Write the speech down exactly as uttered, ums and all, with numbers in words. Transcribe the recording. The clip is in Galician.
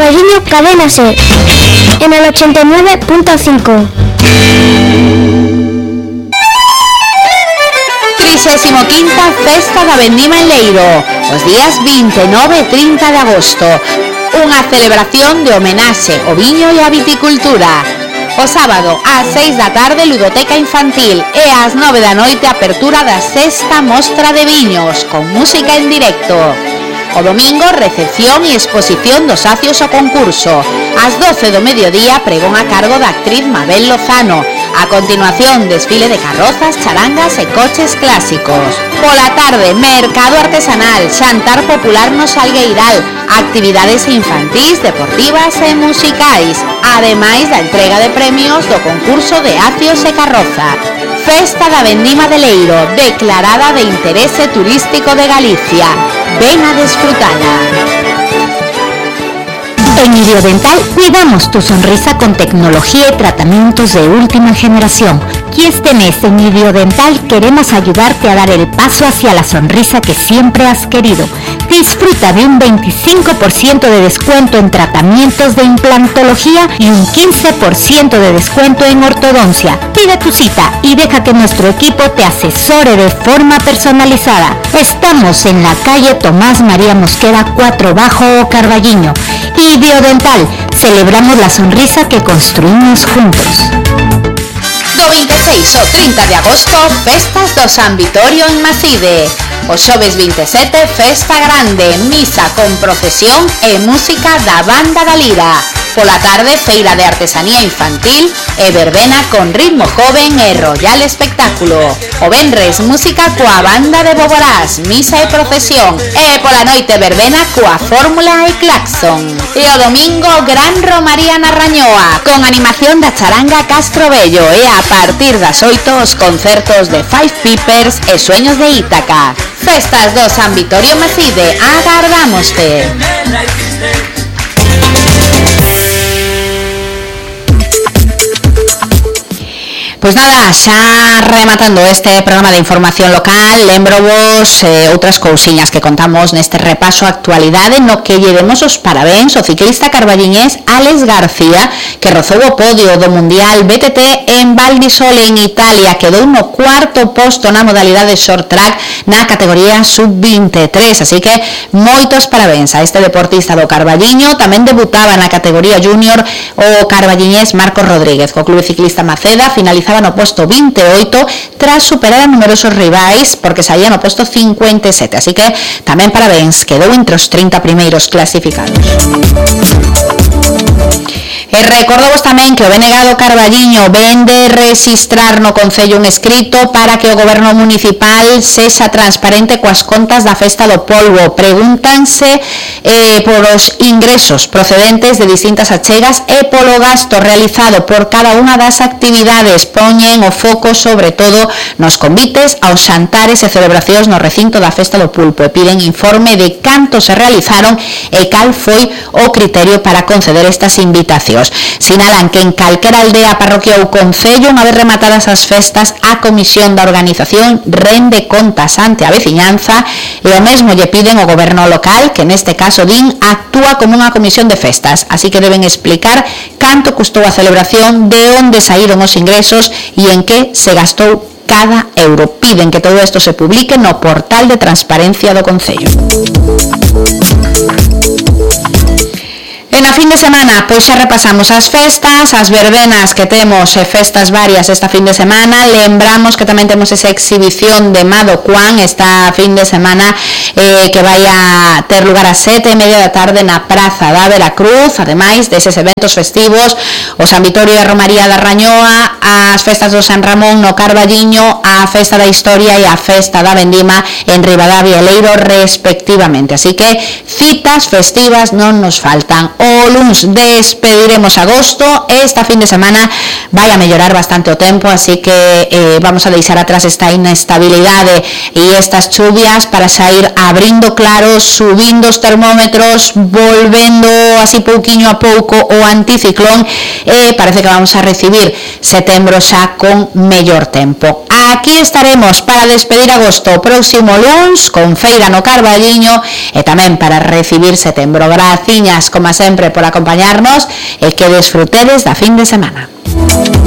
Carballiño, Cadena Ser, en el ochenta y nueve punto cinco. trigésima quinta Festa da Vendima en Leiro, os días veintinueve e trinta de agosto. Unha celebración de homenaxe ao viño e á viticultura. O sábado, ás seis da tarde, ludoteca infantil e ás nove da noite, apertura da sexta mostra de viños, con música en directo. O domingo, recepción e exposición dos acios ao concurso. Ás doce do mediodía, pregón a cargo da actriz Mabel Lozano. A continuación, desfile de carrozas, charangas e coches clásicos. Pola tarde, mercado artesanal, xantar popular no Salgueiral, actividades infantís, deportivas e musicais, ademais da entrega de premios do concurso de acios e carroza. Festa da Vendima de Leiro, declarada de interese turístico de Galicia. Ven a disfrutala. En Idiodental cuidamos tu sonrisa con tecnología y tratamientos de última generación. Y este mes en Idiodental queremos ayudarte a dar el paso hacia la sonrisa que siempre has querido. Disfruta de un veinticinco por ciento de descuento en tratamientos de implantología y un quince por ciento de descuento en ortodoncia. Pide tu cita y deja que nuestro equipo te asesore de forma personalizada. Estamos en la calle Tomás María Mosquera cuatro Bajo Carballiño. Idiodental, celebramos la sonrisa que construimos juntos. Do veintiséis ao trinta de agosto, festas do San Vitorio en Maside. O xoves veintisiete, festa grande, misa con procesión e música da Banda da Lira. Pola tarde, feira de artesanía infantil e verbena con ritmo joven e royal espectáculo. O venres, música coa Banda de Boborás, misa e procesión. E pola noite, verbena coa Fórmula e Claxon. E o domingo, gran romaría na Rañoa, con animación da charanga Castro Bello. E a partir das oito, os concertos de Five Peepers e Sueños de Ítaca. Festas do San Vitorio Maside, agardámoste. Pois nada, xa rematando este programa de información local, lembrovos eh, outras cousiñas que contamos neste repaso a actualidade no que lle demos os parabéns ao ciclista carballiñés Alex García, que rozou o podio do Mundial B T T en Val di Sole en Italia, quedou no cuarto posto na modalidade short track na categoría sub veintitrés, así que moitos parabéns a este deportista do Carballiño. Tamén debutaba na categoría junior o carballiñés Marcos Rodríguez, co Clube Ciclista Maceda, finalizaba no posto veintioito tras superar a numerosos rivais porque saía no posto cincuenta e sete, así que tamén parabéns, quedou entre os trinta primeiros clasificados. E recordovos tamén que o B N G do Carballiño ven de registrar no Concello un escrito para que o Goberno Municipal sexa transparente coas contas da Festa do Polvo. Pregúntanse eh, por os ingresos procedentes de distintas achegas e polo gasto realizado por cada unha das actividades. Poñen o foco sobre todo nos convites aos xantares e celebracións no recinto da Festa do Pulpo e piden informe de canto se realizaron e cal foi o criterio para conceder estas invitacións. Sinalan que en calquera aldea, parroquia ou concello, unha vez rematadas as festas, a comisión da organización rende contas ante a veciñanza e o mesmo lle piden ao goberno local, que neste caso din actúa como unha comisión de festas, así que deben explicar canto custou a celebración, de onde saíron os ingresos e en que se gastou cada euro. Piden que todo isto se publique no portal de transparencia do Concello. E na fin de semana, pois xa repasamos as festas, as verbenas que temos e festas varias esta fin de semana. Lembramos que tamén temos esa exhibición de Mado Juan esta fin de semana eh, que vai a ter lugar a sete e media da tarde na Praza da Veracruz. Ademais deses eventos festivos, o San Vitorio e a Romaría da Rañoa, as festas do San Ramón no Carballiño, a Festa da Historia e a Festa da Vendima en Ribadavia e Leiro respectivamente. Así que citas festivas non nos faltan. O luns despediremos agosto. Esta fin de semana vai a mellorar bastante o tempo, así que eh, vamos a deixar atrás esta inestabilidade e estas chuvias para xa ir abrindo claros, subindo os termómetros, volvendo así pouquiño a pouco o anticiclón e parece que vamos a recibir setembro xa con mellor tempo. Aquí estaremos para despedir agosto o próximo luns con feira no Carballiño e tamén para recibir setembro. Graciñas, como sempre, por acompañarnos e que desfrutedes da fin de semana.